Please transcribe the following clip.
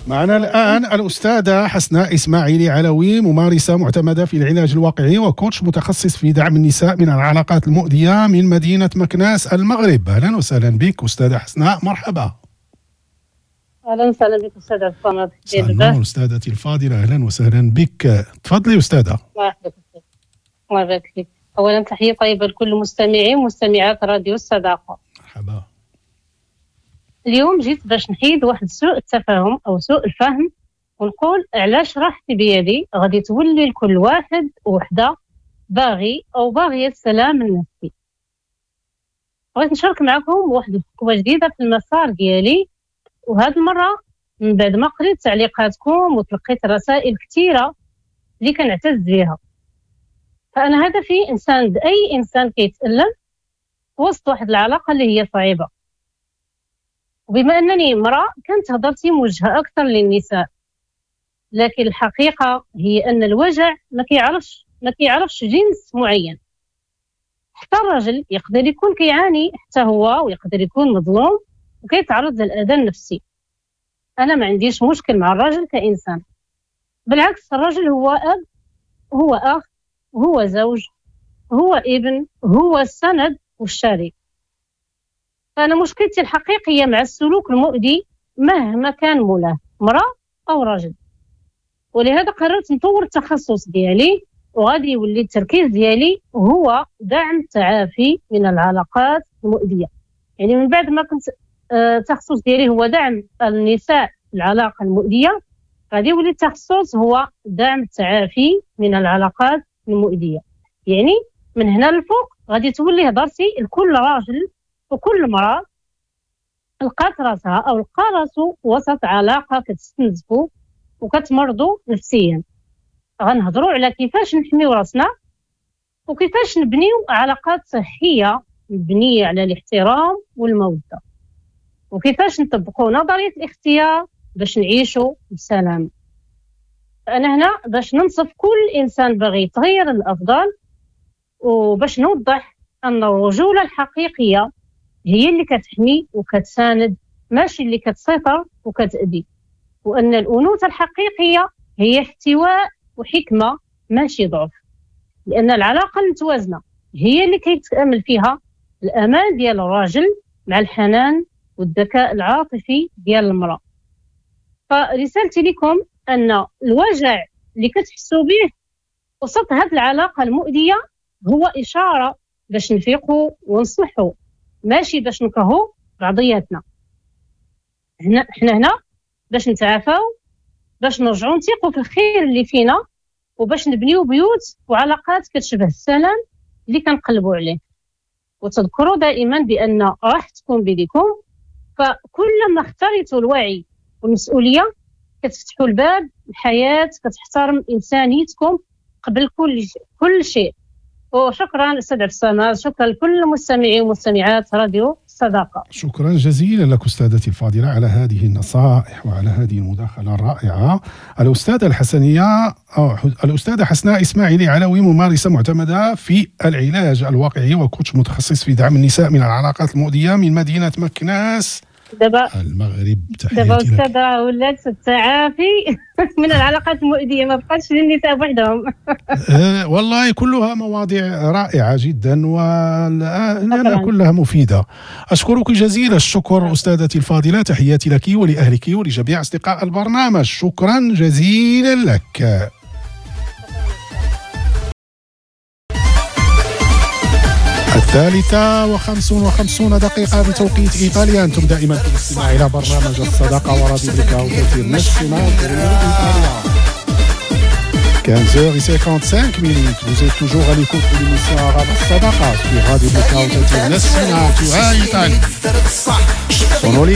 معنا الآن الأستاذة حسناء إسماعيلي علوي، ممارسة معتمدة في العلاج الواقعي و coach متخصص في دعم النساء من العلاقات المؤذية من مدينة مكناس المغرب. أهلا وسهلا بك أستاذة حسناء، مرحبا. أهلا وسهلا بك أستاذ عبد الصمد. النور أستاذتي الفاضلة، أهلا وسهلا بك، تفضلي أستاذة. الله يحفظك، الله يبارك فيك. أولا تحية طيبة لكل المستمعين ومستمعات راديو الصداقة. مرحبا. اليوم جيت باش نحيد واحد سوء التفاهم أو سوء الفهم، ونقول علاش راحتي بيدي غادي تولي لكل واحد وحدة باغي أو باغية السلام النفسي. بغيت نشارك معكم واحد الخطوة جديدة في المسار ديالي، وهاد المرة من بعد ما قريت تعليقاتكم وتلقيت رسائل كثيرة اللي كنعتز بها. فأنا هدفي إنسان أي إنسان كيتألم وسط واحد العلاقة اللي هي صعيبة، وبما أنني امرأة كانت هضرتي موجهة أكثر للنساء، لكن الحقيقة هي أن الوجع ما كيعرفش جنس معين. حتى الرجل يقدر يكون كيعاني حتى هو، ويقدر يكون مظلوم وكيتعرض للأذى النفسي. أنا ما عنديش مشكل مع الرجل كإنسان، بالعكس الرجل هو أب، هو أخ، هو زوج، هو ابن، هو السند والشريك. فأنا مشكلتي الحقيقية مع السلوك المؤذي مهما كان مولاه، امرأة أو رجل. ولهذا قررت نطور التخصص ديالي، وغادي يولي التركيز ديالي هو دعم التعافي من العلاقات المؤذية. يعني من بعد ما كنت التخصص ديالي هو دعم النساء العلاقة المؤذية، غادي يولي التخصص هو دعم التعافي من العلاقات المؤذية. يعني من هنا للفوق غادي تولي هضرتي لكل راجل وكل امرأة لقات راسها أو لقى راسو وسط علاقة كتستنزفو وكتمرضو نفسيا. غنهضروا على كيفاش نحميو راسنا وكيفاش نبنيو علاقات صحية مبنية على الاحترام والمودة، وكيفاش نطبقوا نظرية الاختيار باش نعيشوا بسلام. أنا هنا باش ننصف كل إنسان باغي يتغير للأفضل، وباش نوضح أن الرجولة الحقيقية هي اللي كتحمي وكتساند، ماشي اللي كتسيطر وكتأذي، وأن الأنوثة الحقيقية هي احتواء وحكمة ماشي ضعف، لأن العلاقة المتوازنة هي اللي كيتأمل فيها الأمان ديال الراجل مع الحنان والذكاء العاطفي ديال المرأة. فرسالتي لكم أن الوجع اللي كتحسوا به وسط هذه العلاقة المؤذية هو إشارة باش نفيقوا ونصلحوا، ماشي باش نكرهوا بعضياتنا. حنا هنا باش نتعافاو، باش نرجعوا نثيقوا في الخير اللي فينا، وباش نبنيو بيوت وعلاقات كتشبه السلام اللي كنقلبوا عليه. وتذكروا دائما بأن راحتكم بيديكم، فكلما اخترتوا الوعي والمسؤولية كتفتحوا الباب الحياة، كتحترم إنسانيتكم قبل كل شيء. وشكرا أستاذ عبد الصمد، شكرا لكل المستمعين ومستمعات راديو الصداقة. شكرا جزيلا لك أستاذتي الفاضلة على هذه النصائح وعلى هذه المداخلة الرائعة. الأستاذة الحسنية أو الأستاذة حسناء إسماعيلي علوي، ممارسة معتمدة في العلاج الواقعي وكوتش متخصص في دعم النساء من العلاقات المؤذية من مدينة مكناس المغرب. دابا أستاذة ولات التعافي من العلاقات المؤذية، ما بقاتش للنساء وحدهم. والله كلها مواضيع رائعة جدا ولأنها كلها مفيدة. أشكرك جزيل الشكر أستاذتي الفاضلة، تحياتي لك ولأهلك ولجميع أصدقاء البرنامج، شكرا جزيلا لك. 3:55 بتوقيت إيطاليا. أنتم دائما في الاستماع إلى برنامج الصداقة وراديو Blackout National إيطاليا. 15h55 minutes. Vous êtes toujours à l'écoute de l'émission Arabe Sadaqa sur Radio Blackout National Italie. Sono le